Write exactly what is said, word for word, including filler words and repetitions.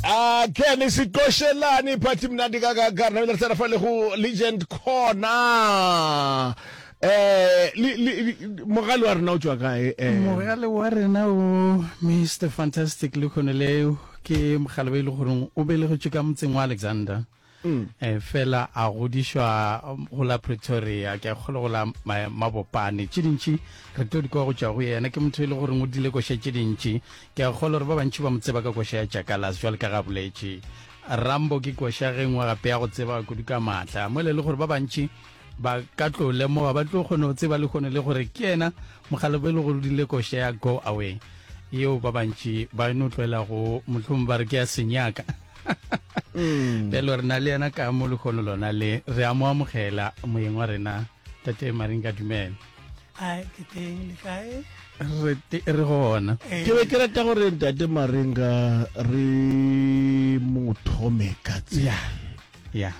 A Ken Seqošelane party mnandi kangaka re namile re tsena fa le go Legend Corner. Eh le le mogale wa rena o tšwa kae? Eh Mogale wa rena o Mister Fantastic le kgone leo ke mogale ba ile gore o belegetšwe ka motseng wa Alexander. Mm. Eh, fela a godišwa go la Pretoria, ke a kgolwa go la ma- Mabopane. Tše dintši re tlo di kwa go tšwa go yena. Ke motho e le goreng o dile koša tše dintši. Ke a kgolwa gore ba bantši ba mo tseba ka koša ya Jackalas, jwale ka ga boletše Rambo ke koša ge nngwe gape ya go tseba kudu ka maatla mo le le gore ba bantši ba ka tlo lemoga, ba tlo kgone go tseba le kgone le gore ke yena mogale bo e le gore o dile koša ya Go Away yeo ba bantši ba no tlwaela go mohlomong ba re ke ya senyaka. Bjalo re na le yena ka mo lekgono lona le re a mo amogela moyeng wa rena tate Marinka. Dumela. A ke teng, le kae? Re te- re gona. Ke be ke rata gore ntate Marenga re mo thome ka tsela ya